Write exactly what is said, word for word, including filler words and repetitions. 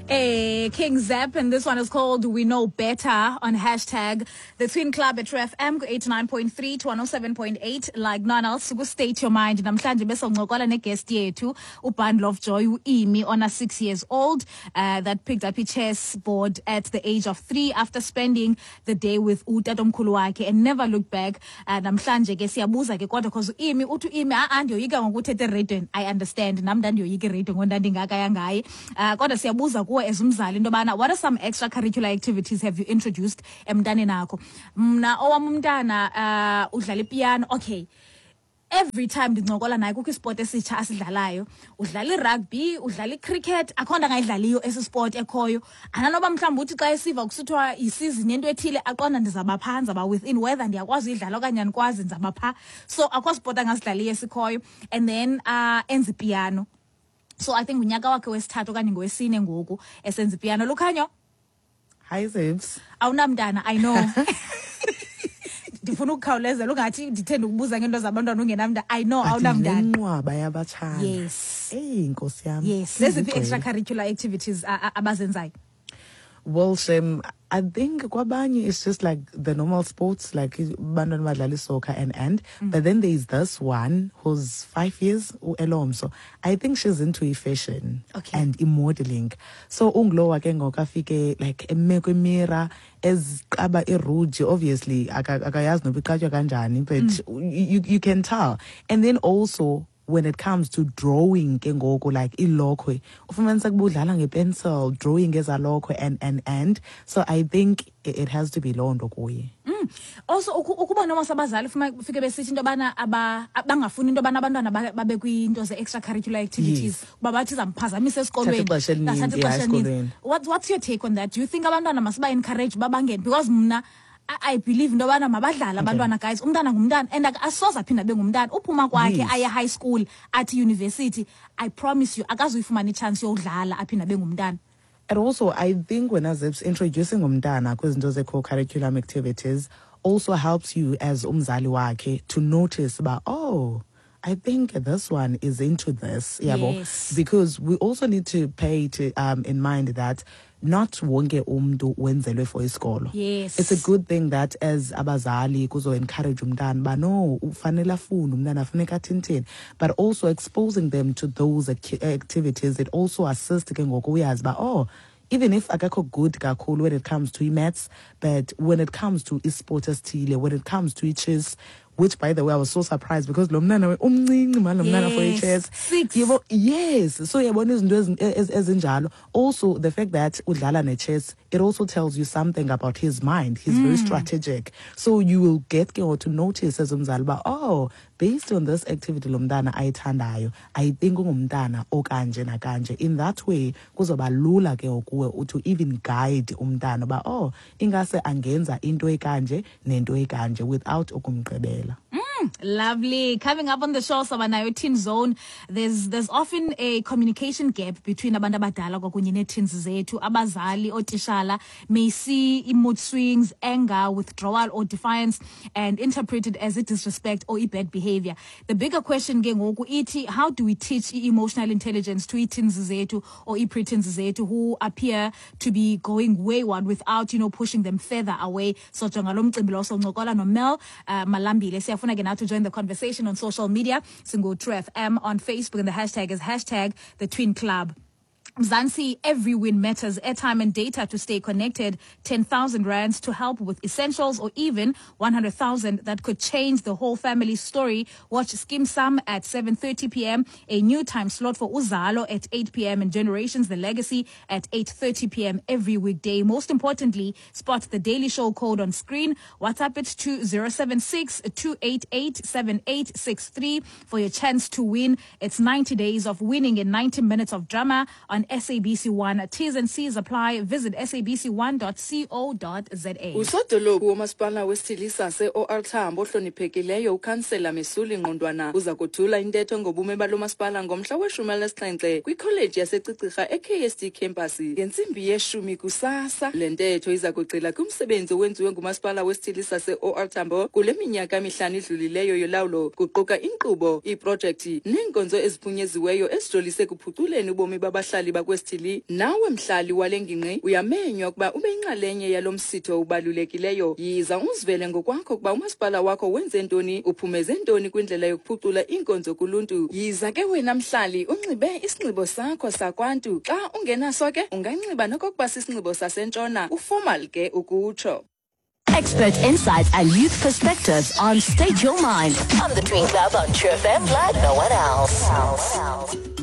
Hey, King Zap, and this one is called We Know Better on hashtag The Twin Club at True F M eighty-nine point three to one oh seven point eight, like none else. Ku State Your Mind namhlanje besoncokola neguest yethu, uBundle of Joy, uImi, ona six years old, uh, that picked up a chess board at the age of three after spending the day with utatomkhulu wakhe and never looked back. Uh, namhlanje ke siyabuza ke kodwa because uImi uthi uImi a andiyoyika ngokuthetha eradweni. I understand, nam ndandiyoyika iradio ngondandingaka yangaye. Uh, kodwa siyabuza kuwe as umzali into yobana what are some extracurricular activities have you introduced emntaneni akho? Mna owam umntana uh, udlala ipiano. Okay, every time ndincokola naye kukho isport esitsha asidlalayo. Udlala irugby, udlala icricket, akho nto angayidlaliyo esi sport ekhoyo. Ananoba mhlawumbi uthi xa esiva kusithiwa yisizini yento ethile, aqonda ndizawuba phaa, ndizawuba within, whether ndiyakwazi uyidlala okanye andikwazi, ndizawuba phaa. So akho sport angasidlaliyo esikhoyo. And then uh, enza ipiano. So I think ngunyaka wakhe wesithathu okanye ngowesine ngoku esenza ipiano. Lukhanyo. Hi, Zibs. Awunamntana, I know. Ndifuna ukukhawulezela ungathi ndithe ndikubuza ngeento zabantwana ungenamntana. I know awunamntana. Inqwaba yabatshana. Yes. Eyi, nkosi yam. Yes, zeziphi extracurricular activities a- a- abazenzayo? Well, Shem, I think kwabanye it's just like the normal sports, like bantwana badlala soccer and and. Mm. But then there's this one who's five years, uElomso. I think she's into fashion Okay. and modeling. So ungulowa ke ngoku afike like eme kwimirror eziqaba iruji. Obviously aka- akayazi noba iqatywa kanjani, but Mm. you, you can tell. And then also when it comes to drawing ke ngoku, like ilokhwe, ufumanisa kuba udlala ngepencil, drawing ezalokhwe and and and so I think it it has to be loo nto kuye. Also uku- ukuba noma sabazali fuma fike besithi into yobana aba bangafuni into yobana abantwana ba- babe kwiinto ze-extracurricular activities Yes. kuba bathi zamphazamisa esikolweni. Thatha ixesha elininzi, Thatha yeah, ixesha elininzi. esikolweni. What, what's your take on that? Do you think abantwana masiba-encourage uba bangene? Because mna I, I believe into yobana mabadlale abantwana, guys. Umntana ngumntana and ak- asoze aphinde abe ngumntana. Uphuma kwakhe Yes. aye high school, athi university, I promise you akazuyifumana itshansi yowudlala aphinde abe ngumntana. And also, I think when Zips introducing umntana kwizinto ze-co-curriculum activities also helps you as umzali wakhe to notice about, oh, I think this one is into this. Yabo. Yes. Because we also need to pay to um in mind that not wonke umntu wenzelwe for isikolo. Yes. It's a good thing that as abazali kuzo encourage umntana ba no, ufanele afunde umntana, funeka athintini, but also exposing them to those acti- activities, it also assists ke ngoku uyazi ba, oh, even if akakho good kakhulu when it comes to maths, but when it comes to isport esithile, when it comes to chess, which by the way I was so surprised because lo mntana umncinci man, lo mntana for Yes, i-chess. six. Yebo, yes. So yabona izinto ezi- ez- ezinjalo. Also the fact that udlala ne-chess, it also tells you something about his mind. He's very strategic. So you will get ke ngoku to notice as umzali uba, oh, based on this activity lo mntana ayithandayo, I think ungumntana okanje nakanje. In that way kuzoba lula ke ngokuwe to even guide umntana uba, oh, ingase angenza into ekanje nento ekanje without ukumgqibela. Lovely. Coming up on the show, Sabanayo Teen Zone. There's there's often a communication gap between abantu abadala kwakunye nee-teens zethu. Abazali, ootishala may see mood swings, anger, withdrawal or defiance and interpret it as a disrespect or a bad behavior. The bigger question ke ngoku ithi, how do we teach emotional intelligence to ii-teens zethu or ii-preteens zethu who appear to be going wayward without, you know, pushing them further away? So jonga lo mcimbi lo, soncokola noMel uh, Malambile. Siyafuna ke now to join the conversation on social media. Singu True F M on Facebook and the hashtag is hashtag the Twin Club. Mzansi, every win matters. Airtime and data to stay connected, ten thousand rands to help with essentials or even one hundred thousand that could change the whole family story. Watch Skeem Saam at seven thirty p m, a new time slot for Uzalo at eight p m and Generations The Legacy at eight thirty p m every weekday. Most importantly, spot the Daily Show code on screen. WhatsApp it to zero seven six two eight eight seven eight six three for your chance to win. It's ninety days of winning in ninety minutes of drama on S A B C one. T's and C's apply. Visit S A B C one dot co dot Z A. Usodolophu womasipala wesithili sase-O R Tambo ohloniphekileyo ukhansela Mesuli Ngqondwana uza kuthula intetho ngobume balo masipala ngomhla weshumi elinesixhenxe kwikholeji yaseCicirha e-K S T campus ngentsimbi yeshumi kusasa. Le ntetho iza kugxila kumsebenzi owenziwe ngumasipala wesithili sase-O R Tambo kule minyaka mihlanu idlulileyo yolawulo, kuquka inkqubo, iiprojekthi neenkonzo eziphunyeziweyo ezijolise ekuphuculeni ubomi babahlali. bakwesithili. Nawe mhlali wale ngingqi uyamenywa ukuba ube yinxalenye yalo msitho ubalulekileyo. Yiza uzivele ngokwakho ukuba umasipala wakho wenze ntoni, uphumeze ntoni kwindlela yokuphucula iinkonzo kuluntu. Yiza ke wena mhlali unxibe isinxibo sakho sakwantu. Xa ungenaso ke unganxiba nokokuba sisinxibo sasentshona, uformal ke ukutsho. Expert insights and youth perspectives on State Your Mind on the Twin Club on True F M like no one else.